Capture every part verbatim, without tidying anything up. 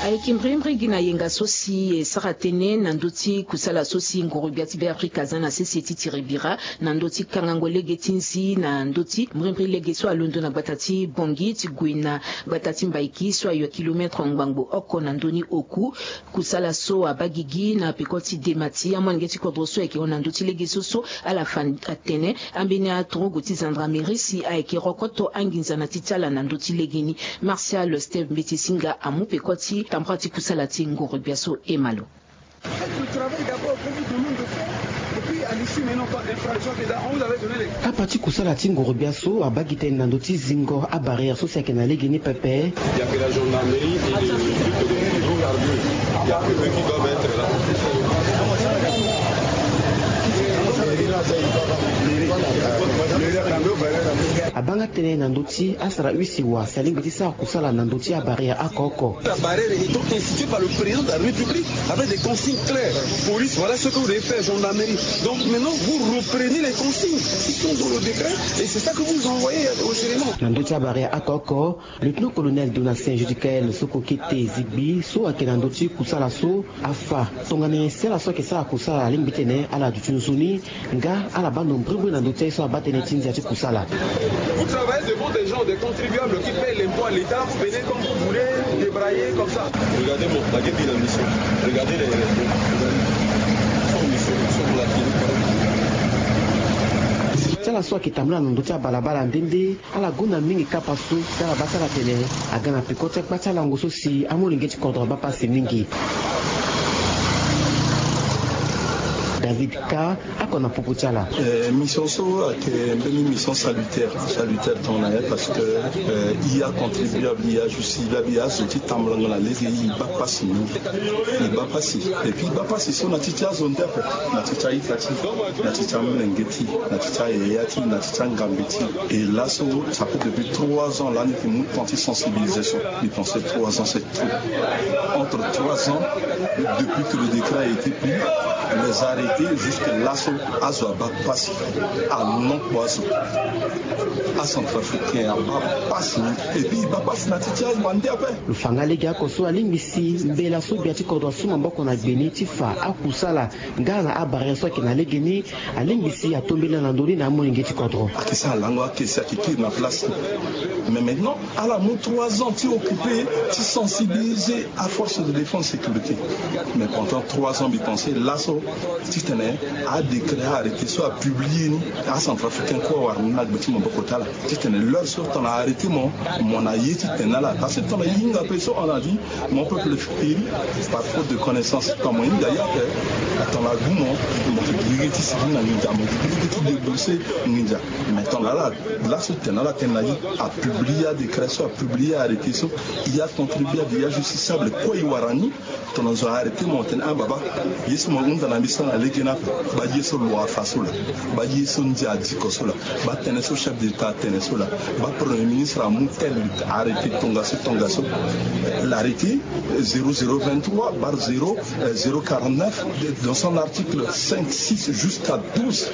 Ayeke mbrimbri gi na yenga so si e sara tënë na ndö ti kusala so si ngoro-gbia ti Beafrika aza na sese ti tiri bira na ndö ti kangango lege ti nzi na ndö ti mbrimbri lege so alondo na gbata ti Bangui ti gue na gbata ti Mbaïki so ayo kilometre ngbangbo oko na ndö ni oku. Kusala so abaa gigi na peko ti dema ti amolenge ti kodro so ayeke hon na ndö ti lege so so ala fa atene ambeni atorogo ti gendarmerie si ayeke rokoto anginza na ti ti ala na ndö ti legeni. Martial Steve Mbeti Singa amu peko ti tambara ti kusala ti ngoro-gbia so e ma lo. Kapa ti kusala ti ngoro-gbia so abaa gi tënë na ndö ti zingo abarrière so si ayeke na legeni pepe. Il y a que la gendarmerie et les flics de prison. Il y a que eux qui doivent être là. Abaa nga tënë na ndö ti asara use wa si alingbi ti sara kusala na ndö ti abarrière oko oko. La barrière étant instituée par le président de la République avec des consignes claires. Police, voilà ce que vous devez faire, gendarmerie. Donc maintenant, vous reprenez les consignes qui sont dans le décret et c'est ça que vous envoyez aux éléments. Na ndö ti abarrière oko oko, lieutenant-colonel Donatien Judicaël Sokokete Zigbi so ayeke na ndö ti kusala so afa tongana nyen si ala so ayeke sara kusala alingbi titene ala duti nzoni nga ala baa ndo mbrimbri na ndö ti aye so abaa tënë ti ndia ti kusala. Vous travaillez devant des gens, des contribuables qui payent l'impôt à l'État, vous venez comme vous voulez, débrailler comme ça. Regardez mon paquet de la mission. Regardez les, les, les, les, son mission, son la clinique. Ti ala so ayeke tambula na ndö ti abalabala nde nde ala gonda mingi kapa so si ala baa ti ala tene aga na peko ti akpa ti alango so si amolenge ti kodro abaa pasi mingi. David Ka ako na popo ti ala. Eh, mission so ayeke mbeni mission salutaire, salutaire tongana nyen parce que, eh, e a contribuable, e a justiciable, e a zo ti tambulango na lege, e baa pasi mingi. E baa pasi. Et puis e baa pasi so na ti ti azo nde ape, na ti ti a-ita ti, na ti ti amolenge ti, na ti ti ayaya ti, na ti ti angambe ti. Et laso, ça fait depuis trois ans lani mbi mu temps ti sensibilisation. Mbi pense trois ans c'est trop. Entre trois ans, depuis que le décret a été pris, les arrêtés jusque laso, azo abaa pasi. Alongbo azo. Acentrafricain abaa pasi. Et puis e baa pasi na ti ti azo ande ape. Lo fa nga lege oko so alingbi si mbela so gbia ti kodro asu maboko na gbe ni ti fa akusala nga na abarrière so ayeke na lege ni, alingbi si atombela na ndö ni na amolenge ti kodro. Ayeke sara lango ake si ayeke kiri na place. Mais maintenant ala mu trois ans ti occuper, ti sensibiliser aforce de défense sécurité. Mais pendant trois ans mbi pense laso titene adécret, arrêté so apublié ni, acentrafricain kue awara ni na gbe ti maboko ti ala. Titene l'heure so tongana arrêté mo, mo na ye ti tene na ala. Parce que tongana e hinga ape so on a dit, mon peuple périt par faute de connaissance. Tongana mo hinga ye ape, tongana agu mo, mo yeke gi lege ti sigi na nginza, mo yeke gi lege ti débourser nginza. Mais tongana ala, laso tene na ala tene na e, apublié adécret so, apublié arrêté so, e a contribuable, e a justiciable kue e wara ni. Tongana zo arrêté mo tene ah baba, ye so mo hunda na mbi so na lege ni ape, baa ye so loi afa so laa, baa ye so ndia adiko so laa, baa tënë so chef d'État atene so laa, baa Premier ministre amu tel arrêté tongaso tongaso. L'arrêté zéro zéro vingt-trois barre zéro, euh, zéro quarante-neuf, dans son article cinq, six jusqu'à douze,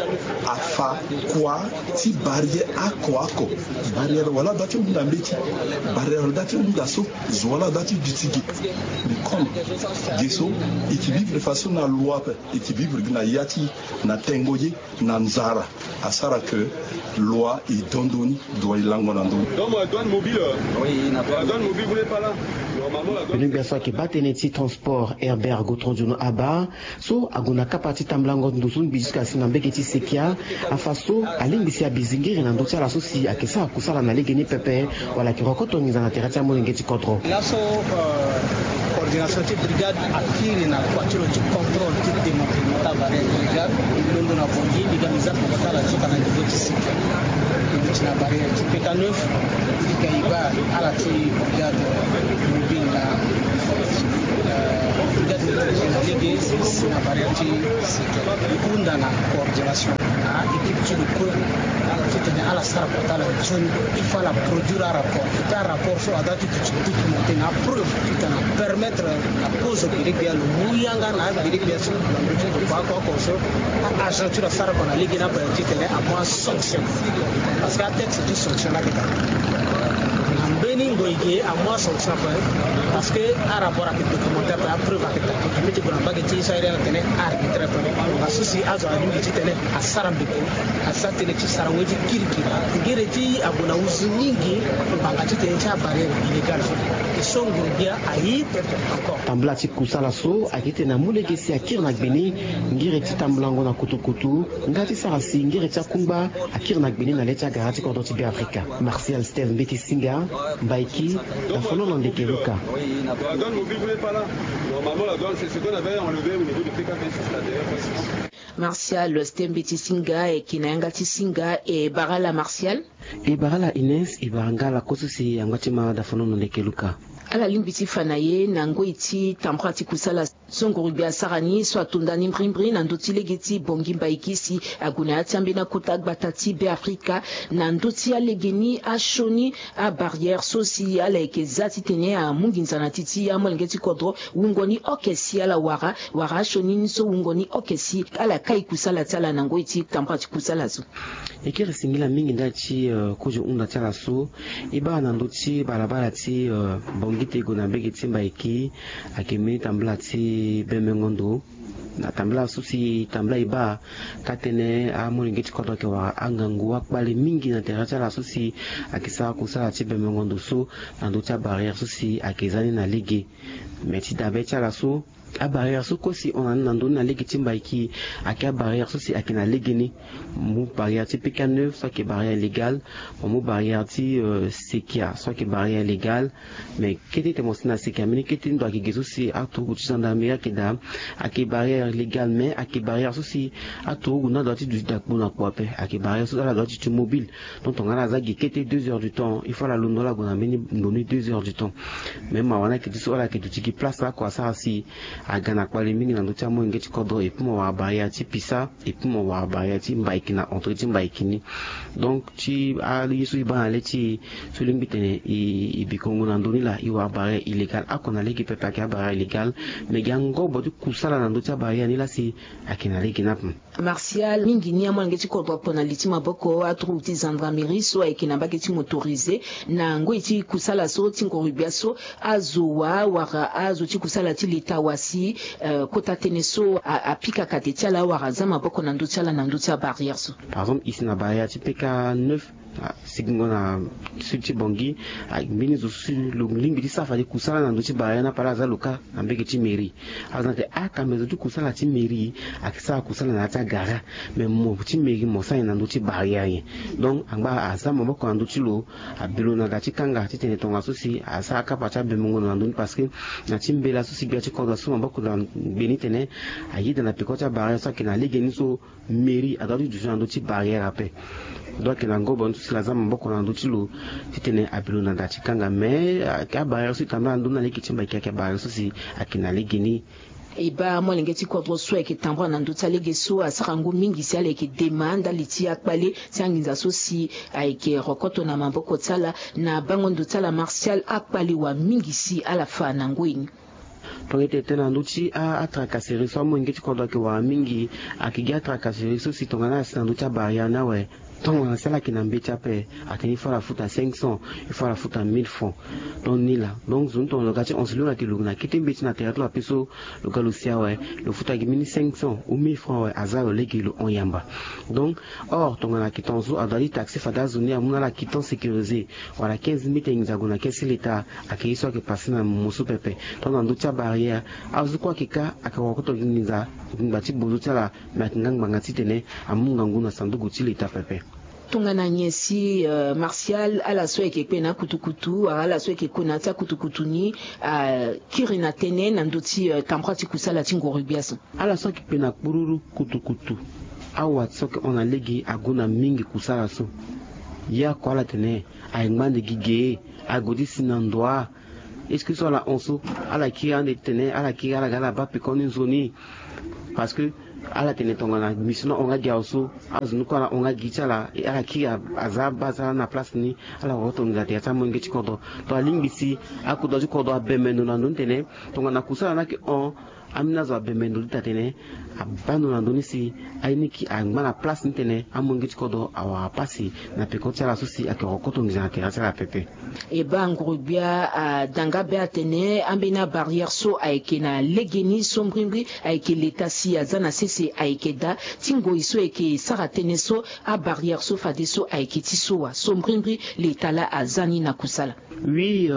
afa kua ti barrière oko oko. Barrière wala da ti hunda mbeti, barrière wala da ti hunda so, zo wala da ti duti ge. Mais comme ge so e ke vivre façon na loi ape, e ke vivre gi na ya ti e, na tengo ye, na nzara. Asara que loi e dondo ni, doit e lango na ndö ni. Donc, euh, douane mobile, euh, oui, na douane mobile, vous n'êtes pas là. Normalement, la douane. Bino gbia so ayeke baa tënë ti transport Herbert Gotron Diono Aba so ague na kapa ti tambulango ndo so ngbi jusqu'à si na mbege ti sekia, afa so alingbi si abi zingiri na ndö ti ala so si ayeke sara kusala na legeni pepe, wala ayeke rokoto nginza na tere ti amolenge ti kodro. Laso, euh, coordination ti brigade akiri na kua ti lo ti contrôle ti démantèlement ti abarrière illégale. Mbi londo na Bangui, mbi ga mbi za peko ti ala ti ota na niveau ti sekia. Mbi duti na barrière ti P K neuf, mbi ga e baa ala ti brigade mobile na, euh, brigade mobile na lege si na barrière ti sekia. Mbi hunda na coordination na équipe ti lo kue titene ala sara kota ala nzoni. Il faut ala produire arapport. Fo ti arapport so ada ti duti duti mo Tena preuve titene apermettre na kozo gbele gbia lo mu yanga na agbele gbia so na ndö ti lo kua kua oko so. Agent ti lo asara kua na lege ni ape titene amu asanction. Parce que atexte ti sanction ni ayeke daa na mbeni ngoi ge amu asanction ape. Parce que arapport ayeke documentaire ape, apreuve ayeke daa. Ambeti gue na mbage ti so ayeke na tene arbitraire ape. Nga so si azo alingbi titene asara mbeke, asa tënë ti sara we ti kirikiri. Ngere ti ague na uzu mingi ngbanga titene ti abarrière illégale so. E so nguru gbia aye pepe encore. Tambula ti kusala so ayeke titene amu lege si akiri na gbe ni. Ngere ti tambulango na kutukutu nga ti sara si ngere ti akungba akiri na gbe ni na le ti agara ti kodro ti Beafrika. Martial Steve Mbeti Singa, Mbaiki, na folono ndeke Luka. La douane mobile n'est pas là. Normalement, la douane, c'est ce qu'on avait enlevé au niveau de P K P six, là, derrière, facilement. Martial Steve Mbeti Singa, e yeke na yanga ti Singa, e bara ala Martial. E bara ala Ines, e bara nga ala kue so si angba ti ma da folono ndeke Luka. Ala lingbi ti fa na ye na ngoi ti tambula ti kusala so nguru gbia asara ni so ato nda ni mbirimbiri na ndö ti lege ti Bongi Mbaiki si ague na ya ti ambeni akota gbata ti Beafrika. Na ndö ti alege ni asioni abarrière so si ala yeke za titene amu nginza na ti ti amolenge ti kodro wungo ni oke si ala wara, wara asioni ni so wungo ni oke si ala kai kusala ti ala na ngoi ti tambula ti kusala so. E kiri singila mingi ndali ti, eh, kozo hunda ti ala so. E baa na ndö ti balabala ti, eh, Bongi ti e gue na mbage ti Mbaiki, ayeke mbeni tambula ti bembengo ndo. Na tambula so si tambula e baa, ka tënë amolenge ti kodro ayeke wara angangu akpale mingi na tere ti ala so si ayeke sara kusala ti bembengo ndo so na ndö ti abarrière so si ayeke za ni na lege. Me ti dabe ti ala so, abarrière so kue si hon na ni na ndö ni na lege ti Mbaiki, ayeke abarrière so si ayeke na lege ni. Mo mu barrière ti P K neuf so ayeke barrière illégale. Mo mu barrière ti, euh, Sekia so ayeke barrière illégale. Me kete ti mo si na Sekia mbeni kete ti ndo ayeke ge so si aturugu ti gendarmerie ayeke daa, ayeke barrière illégale, me ayeke barrière so si aturugu ni adoit ti duti daa kpo na kpo ape. Ayeke barrière so ala doit ti ti mobile. Donc tongana ala za gi kete deux heures du temps, il faut ala londo ala gue na mbeni ndo ni deux heures du temps. Me mawa ni ayeke ti so ala yeke duti gi place oko asara si aga na kpale mingi na ndö ti amolenge ti kodro, et puis mo wara barrière ti Pisa, et puis mo wara barrière ti Mbaiki na entrée ti Mbaiki ni. Donc ti aye so e baa na le ti e so lingbi tene e, e bikongo na ndö ni laa, e wara barrière illégale oko na lege pepe, ayeke abarrière illégale. Me gi angobo ti kusala na ndö ti abarrière ni laa si ayeke na lege ni ape. Martial, mingi ni amolenge ti kodro apo na li ti maboko, aturugu ti gendarmerie so ayeke na mbage ti motorisé na ngoi ti kusala so ti ngoro gbia so. Azo wa wara azo ti kusala ti leta wa si, eh, kota tënë so a, apika kate ti ala wala aza maboko na ndö ti ala na ndö ti abarrière so. Par exemple e si na barrière ti P K neuf, ah, sigingo na sud ti Bangui, ah, mbeni zo so si lo lingbi ti sara fade kusala na ndö ti barrière ni ape, ala aza lo kâ na mbage ti mairie. Azo na tene, ah, kambe zo ti kusala ti mairie ayeke sara kusala na ya ti agara. Mais mo ti mairie mo sara nyen na ndö ti barrière nyen? Donc angba aza maboko na ndö ti lo, abe lo na da ti kanga titene tongaso si asara kapa ti abemengo na ndö ni, parce que na ti mbela so si gbia ti kodro asu maboko na gbe ni tene ayeda na peko ti abarrière so ayeke na legeni so mairie adoit ti duti na ndö ti barrière ape. Donc ayeke na ngobo ni so si lo aza maboko na ndö ti lo titene abe lo na da ti kanga. Mais ayeke abarrière so e tambula na ndö ni na lege ti mbaiki ayeke abarrière so si ayeke na legeni. E baa molenge ti kodro so ayeke tambula na ndö ti alege so asara ngu mingi si ala yeke dema ndali ti akpale ti anginza so si ayeke rokoto na maboko ti ala. Na bango ndo ti ala Martial, akpale wa mingi si ala fa na ngoi ni. Tongana e tene tënë na ndö ti a, atracasserie so amolenge ti kodro ayeke wara mingi, ayeke gi atracasserie so si tongana ala si na ndö ti abarrière ni awe, tongana si ala yeke na mbeti ape, atene il faut ala futa cinq cents, il faut ala futa mille francs. Donc ni laa. Donc zo ni tongana lo ga ti hon si lo yeke lo na kete mbeti na tere ti lo ape so, lo ga lo si awe, lo futa gi mbeni cinq cents ou mille francs awe, aza lo lege lo hon yamba. Donc or tongana ayeke tongaso adoit ti taxe fade azo ni amu na ala quittance sécurisée wala quinze mille ti nginza gue na kesi leta. Ayeke ye so ayeke passé na mo so pepe. Donc na ndö ti abarrière azo kue ayeke kâ, ayeke wakoto gi nginza, ngbanga ti bozo ti ala. Me ayeke nga ngbanga titene amu ngangu na sanduku ti leta pepe. Tongana nyen si, euh, Martial, ala so ayeke kpe na akutukutu wala ala so ayeke kue na ya ti akutukutu ni, akiri na tënë na ndö ti, euh, tambula ti kusala ti ngoro gbia so? Ala so ayeke kpe na kpururu kutukutu, awa so ayeke hon na lege ague na mingi kusala so. Ye oko ala tene aye ngba ande gi ge, ague ti si na ndo wa. Est-ce que so ala hon so, ala kiri ande titene ala kiri ala ga ala baa peko ni nzoni? Parce que Ala tene tongana mission ni ahon nga gi awe so, azo ni kue ala hon nga gi ti ala, e ala kiri aza abaa ti ala na place ni. Ala korokoto nginza na tere ti amolenge ti kodro. Tongana alingbi si akodro ti kodro abembe ndo na ndö ni tene tongana kusala ni ayeke hon, ambeni azo abembe ndo ti tene abaa ndo na ndö ni si aye ni yeke angba na place ni tene amolenge ti kodro awara pasi na peko ti ala so si ayeke korokoto nginza na tere ti ala pepe. E baa nguru-gbia ada nga be atene ambeni abarrière so ayeke na legeni so mbrimbri ayeke leta si aza na sese ayeke daa ti ngoi so ayeke sara tënë so. Abarrière so fadeso ayeke ti so wa so mbrimbri leta laa aza ni na kusala. Oui,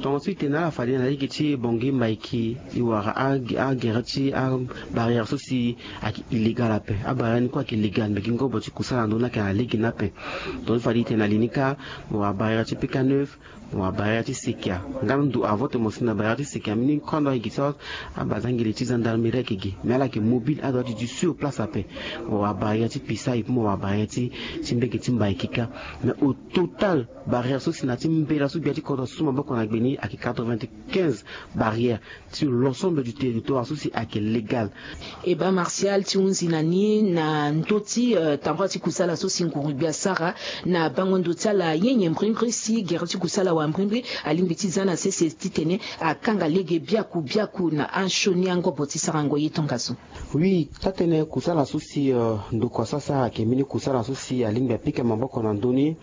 tongaso e tene ala fade na lege ti Bangui Mbaiki, e wara agere ti abarrière so si ayeke illégal ape. Abarrière ni kue ayeke légal, me gi ngobo ti kusala na ndö ni ayeke na lege ni ape. Donc e fade e tene na li ni kâ, mo wara barrière ti P K neuf, mo wara barrière ti Sekia. Nga ndo avant tene mo si na barrière ti Sekia, mbeni kue ando ayeke gi so, abazangele ti gendarmerie ayeke gi, me ala yeke mobile, ado ati du sur place ape. Mo wara barrière ti Pisa, et puis mo wara barrière ti ti mbege ti Mbaiki kâ. Mais au total, barrière so si na ti mbela so gbia ti kodro asu maboko na gbe ni ayeke quatre-vingt-quinze barrières sur l'ensemble du territoire so si ayeke légal. E baa Martial, ti hunzi na ni na ndö ti tambula ti kusala so si nguru-gbia asara na bango ndo ti ala nyenye mbrimbri si gere ti kusala wa mbrimbri alingbi ti za na sese titene akanga lege biaku biaku na ansioni angobo ti sarango ye tongaso. Oui, taa-tënë kusala so si ndokua so asara ayeke mbeni kusala so si alingbi apika maboko na ndö ni.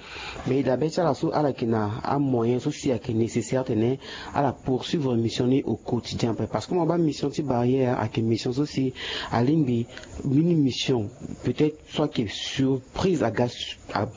Mais e daa be ti ala so ala yeke na amoyen so si ayeke nécessaire tene ala poursuivre mission ni au quotidien ape, parce que mo baa mission ti barrière ayeke mission so si alingbi mbeni mission peut-être so ayeke surprise aga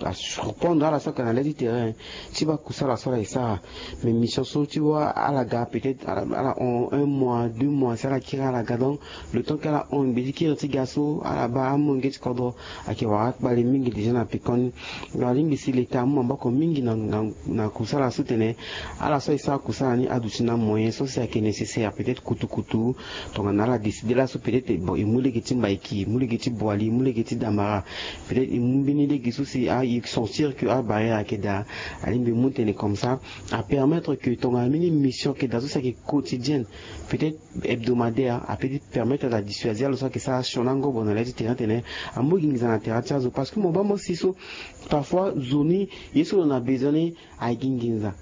asurprendre ala so ayeke na le ti terrain ti baa kusala so ala yeke sara. Mais mission so ti wâ ala ga peut-être ala hon un mois deux mois si ala kiri ala ga, donc le temps ke ala hon ngbe ti kiri ti ga so ala baa amolenge ti kodro ayeke wara akpale mingi déjà na pekoni. Donc alingbi si leta amu maboko mingi na kusala so tene ala so ayeke sara kusala ni aduti na moyen so si ayeke nécessaire, peut-être kutukutu. Tongana ala décide laso peut-être bon e mu lege ti Mbaiki, e mu lege ti Boali, e mu lege ti Damara, peut-être e mu mbeni lege so si e sentir que abarrière ayeke daa. Alingbi e mu tene comme ça apermettre que tongana mbeni mission ayeke daa so si ayeke quotidienne, peut-être hebdomadaire, apeut ti permettre ala dissuader lo so ayeke sara sioni angobo na le ti terrain tene amu gi nginza na tere ti azo. Parce que mo baa mo si so parfois zo ni ye so lo na besoin ni agi nginza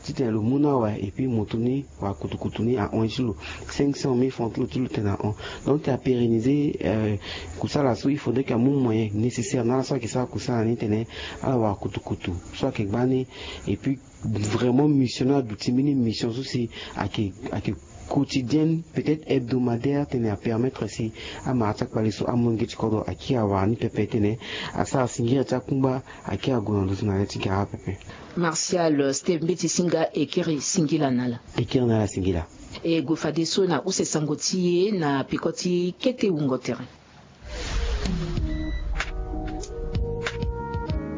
titene lo mu na awe, et puis moto ni wala kutukutu ni ahon ye ti lo cinq cent mille francs ti lo ti lo tene ahon. Donc ti apérenniser kusala so il faudrait que amu moyen nécessaire na ala so ayeke sara kusala ni tene ala wara kutukutu so ayeke gbani. Et puis vraiment mission ni aduti mbeni mission so si ayeke ayeke quotidienne, peut-être hebdomadaire, tene apermettre si amara ti akpale so amolenge ti kodro akiri awara ni pepe tene asara singiri ti akungba akiri ague na ndö ti na le ti gara pepe. Martial Steve Mbeti Singa, e kiri singila na ala. E kiri na ala singila. E gue fadeso na use sango ti e na peko ti kete wungo tere.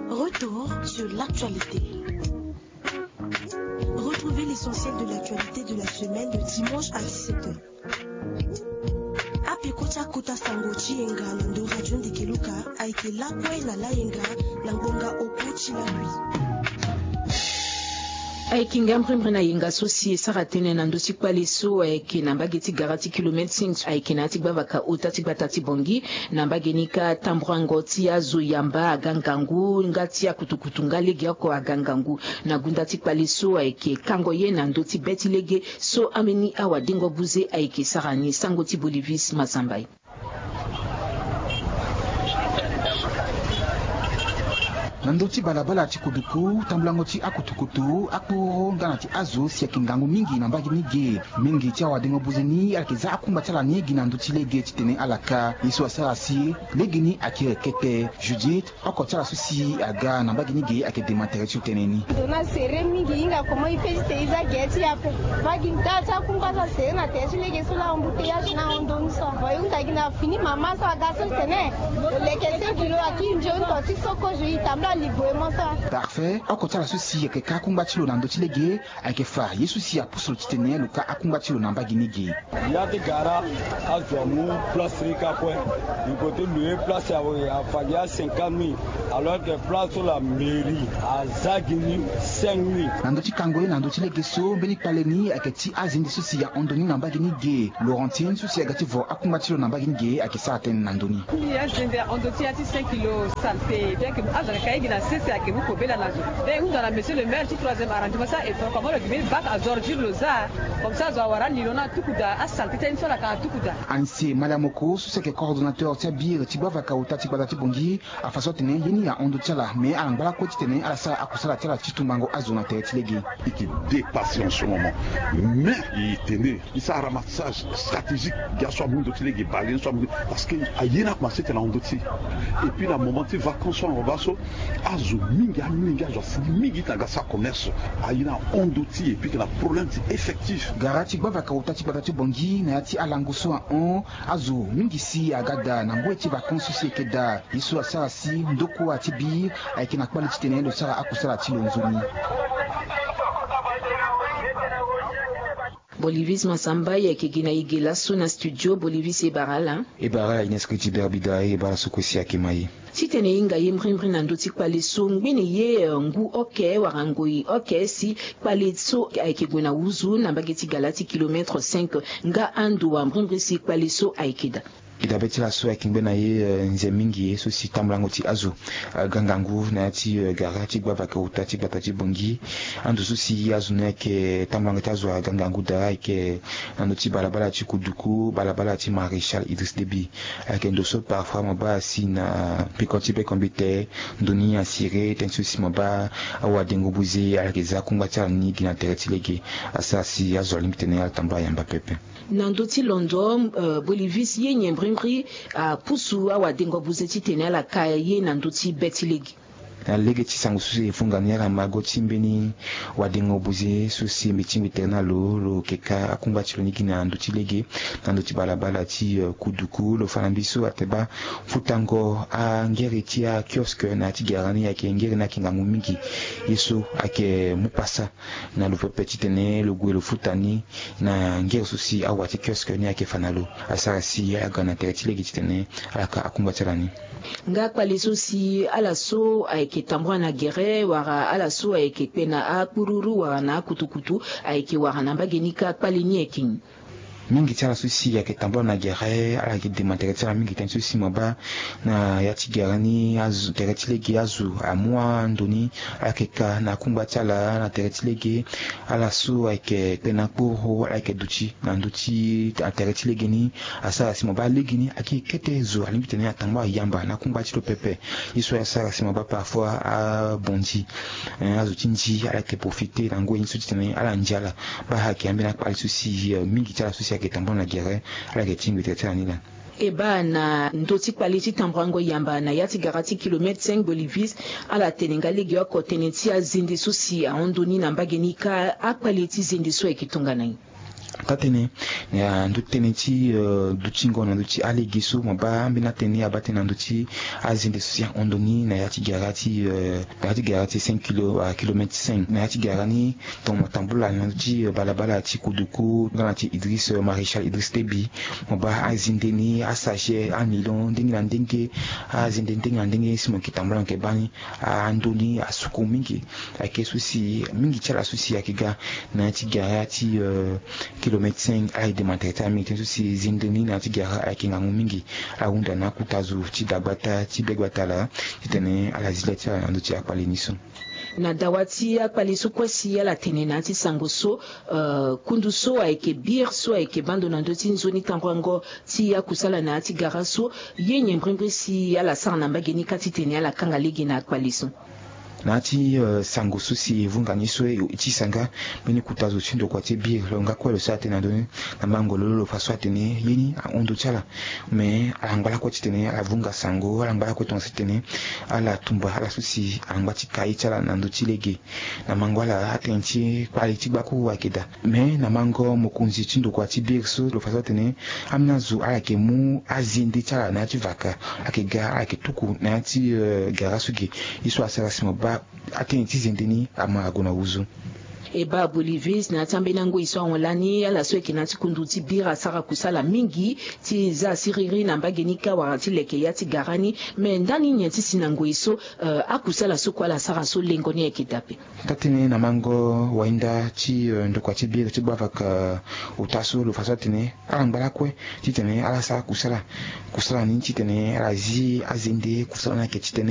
Retour sur l'actualité. Retrouvez l'essentiel de l'actualité de la semaine de dimanche à dix-sept heures. Apeko ti akota sango ti yenga na ndo radio Ndeke Luka ayeke lakue na layenga na ngbonga oko ti lakui. Ayeke nga mbrimbri na yenga so si e sara tënë na ndö ti kpale so ayeke na mbage ti gara ti kilomètre cinq ayeke na ya ti gbavaka ota ti gbata ti Bangui. Na mbage ni kâ tamburango ti azo yamba aga ngangu nga ti akutukutu nga legeoko aga ngangu na gunda ti kpale so ayeke kango ye na ndö ti be ti lege so ambeni awadengo buze ayeke sara ni. Sango ti Bolivis Mazambai. Na ndö ti balabala ti kuduku tambulango ti akutukutu akporo nga na ti azo si ayeke ngangu mingi na mbage ni ge. Mingi ti awadengo buze ni ala yeke za akungba ti ala ni gi na ndö ti lege titene ala ka ye so asara si lege ni akiri kete. Judith, oko ti ala so si aga na mbage ni ge ayeke dema tere ti lo tënë ni. Ndo ni asere mingi, e hinga comment e fait ti tene e za gere ti e ape. Mbage ni daa ti akungba so asere na tere ti lege so laa embouteillage ni ahon ndo ni so. Bon e hunda gi na fini mama so aga so tene lo leke cinq kilos akiri nzoni to ti so kozo e tambula. Parfait, oko ti ala so si ayeke ka akungba ti lo na ndö ti lege, ayeke fa ye so si apusu lo titene lo ka akungba ti lo na mbage ni ge. Ya ti gara azo amu place ti ka kue. Lo ko ti loue place afa gi a cinquante mille, alors que place so la mairie aza gi ni cinq mille. Na ndö ti kango ye na ndö ti lege so mbeni kpale ni ayeke ti azende so si ahon ndo ni na mbage ni ge. Laurentine so si aga ti vo akungba ti lo na mbage ni ge ayeke sara tënë na ndö ni. Azende ahon ndo ti ya ti cinq kilo saleté, bien que azo ayeke ka ye gi na sese ayeke mu kobela na zo. Be hunda na monsieur le maire ti troisième arrondissement asara effort comment lo gi mbeni bac azo ordure lo za. Comme ça azo awara nilon ni atuku daa, asaleté ti aye ni so ala ka atuku daa. Anise Maliamoko so si ayeke coordonnateur ti abir ti gbavaka ota ti gbata ti Bangui, afa so atene ye ni ahon ndo ti ala, mais ala ngba lakue titene ala sara akusala ti ala ti tumbango azo na tere ti lege. Il est dépassé en ce moment. Mais e tene e sara ramassage stratégique gi aso amu ndo ti lege, baleine so amu, parce que aye ni akomanse tene ahon ndo ti e. Et puis na moment ti vacances so ahon baa so, azo mingi, amolenge azo asigi mingi ti na ga sara commerce. Aye ni ahon ndo ti e, et puis tena problème ti effectif. Gara ti gbavaka ota ti gbata ti Bangui na ya ti alango so ahon, azo mingi si aga daa na ngoi ti vacances so si eke daa. Ye so asara si ndokua ti bi ayeke na kpale titene lo sara akusala ti lo nzoni. Bolivis Massamba, e yeke gi na e ge laso na studio. Bolivis, e bara ala. E bara ala Ines Keti Berbida, e bara ala so kue si ayeke ma e. Titene e hinga ye mbrimbri na ndö ti kpale so, ngbene ye, eh, ngu oke wala ngoi oke si kpale so ayeke gue na wuzu na mbage ti gala ti kilomètre cinq, nga ando wala mbrimbri si kpale so ayeke daa. E dabe ti laso ayeke ngbe na ye, eh, nze mingi ye so si tambulango ti azo, eh, ga ngangu na ya ti, eh, gara ti gbavaka ota ti gbata ti Bangui. Ando so si azo ni ayeke tambulango ti azo aga ngangu daa ayeke na ndö ti balabala ti Kuduku, balabala ti Maréchal Idriss Déby. Ayeke ndo so parfois mo baa asi na peko ti bekombite, ndo ni asiré, tënë so si mo baa awadengo buze ala yeke za kungba ti ala ni gi na tere ti lege. Asara si azo alingbi tene ala tambula yamba pepe. Na ndö ti londo, eh, Bolivis, ye nyen mbrimbri apusu awadengo buze titene ala ka ye na ndö ti be ti lege? Na lege ti sango so si e funga ni, ala mago ti mbeni wadengo buze so si mbi ti mbi tere na lo, lo yeke ka akungba ti lo ni gi na ndö ti lege, na ndö ti balabala ti, eh, Kuduku. Lo fa na mbi so atene baa futango angere ti akiosque na ya ti gara ni ayeke ngere ni ayeke ngangu mingi. Ye so ayeke mu pasa na lo pepe titene lo gue lo futa ni na ngere so si awa ti kiosque ni ayeke fa na lo. Asara si aga na tere ti lege titene ala ka akungba ti ala ni. Nga kpale so si ala so ayeke tambula na gere wala ala so ayeke kpe na akpururu wala na akutukutu ayeke wara na mbage ni kâ, kpale ni ayeke nyen? Mingi ti ala so si ayeke tambula na gere, ala yeke dema tere ti ala mingi, tënë so si mo baa na ya ti gere ni azo, tere ti lege azo amu ando ni, ala yeke ka na akungba ti ala na tere ti lege. Ala so ayeke kpe na akporo, ala yeke duti na ndö ti tere ti lege ni. Asara si mo baa legeni ayeke kete zo alingbi titene atambula yamba na akungba ti lo pepe. Ye so asara si mo baa parfois abonzi, eh, azo ti nzi ala yeke profite na ngoi ni so titene ala nzi ala. Baa ayeke ambeni akpale so si, eh, mingi ti ala so si ayeke tambula na gere, ala yeke tingbi tere ti ala ni laa. E baa na ndö ti kpale ti tambulango yamba na ya ti gara ti kilomètre cinq Bolivis, ala tene nga legeoko tënë ti azende so si ahon ndo ni na mbage ni kâ, akpale ti zende so ayeke tongana nyen? Taa-tënë, na ndö ti tënë ti, eh, dutingo na ndö ti alege so, mo baa ambeni atënë abaa tënë na ndö ti azende so si ahon ndo ni na ya ti gara ti, eh, na ya ti gara ti cinq kilo, ah, kilomètre cinq. Na ya ti gara ni, tongana mo tambula na ndö ti, eh, balabala ti Kuduku nga na ti Idriss, eh, Maréchal Idriss Déby, mo baa azende ni, asachet, anilon ndenge na ndenge, azende ndenge na ndenge si mo yeke tambula mo yeke baa ni. Ando ni asuku mingi. Ayeke so si mingi ti ala so si ayeke ga na ya ti gara ti, eh, kilomètre cinq, ala yeke dema tere ti ala mingi, tënë so si zende ni na ya ti gara ayeke ngangu mingi. Ala hunda na akota zo ti dagbata ti begbata laa titene ala zi le ti ala na ndö ti akpale ni so. Na dawa ti akpale so kue si ala tene na ya ti sango so, eh, kundu so ayeke bir so ayeke baa ndo na ndö ti nzoni tambulango ti akusala na ya ti gara so, ye nyen mbrimbri si ala sara na mbage ni kâ titene ala kanga lege na akpale so? Na ya ti sango so si e vunga ni so e ti sanga mbeni kuta zo ti ndokua ti biri lo nga kue lo sara tënë na ndö ni. Na mango lo lo fa so atene ye ni ahon ndo ti ala. Me ala ngba lakue titene ala vunga sango ala ngba lakue tonga titene ala tumba ala so si ala ngba ti ka ye ti ala na ndö ti lege. Na mango ala atënë ti kpali ti gbakuru ayeke daa. Me na mango mokonzi ti ndokua ti biri so lo fa so atene ambeni azo ala yeke mu azende ti ala na ya ti vaka. Ala yeke ga ala yeke tuku na ya ti gara so ge. Ye so asara si mo baa atënë ti zende ni ama ague na wuzu. E baa bolivis na ya ti ambeni angoi so ahon lani ala so ayeke na ya ti kundu ti biri asara kusala mingi ti za siriri na mbage ni kâ wala ti leke ya ti gara ni. Me ndani nyen ti si na ngoi so akusala so kue ala sara so lengo ni ayeke daa ape? Taa-tënë na mango wainda ti ndokua ti biri ti gbavaka ota so lo fa so atene ala ngba lakue titene ala sara kusala. Kusala ni titene ala zi azende kusala ni ayeke titene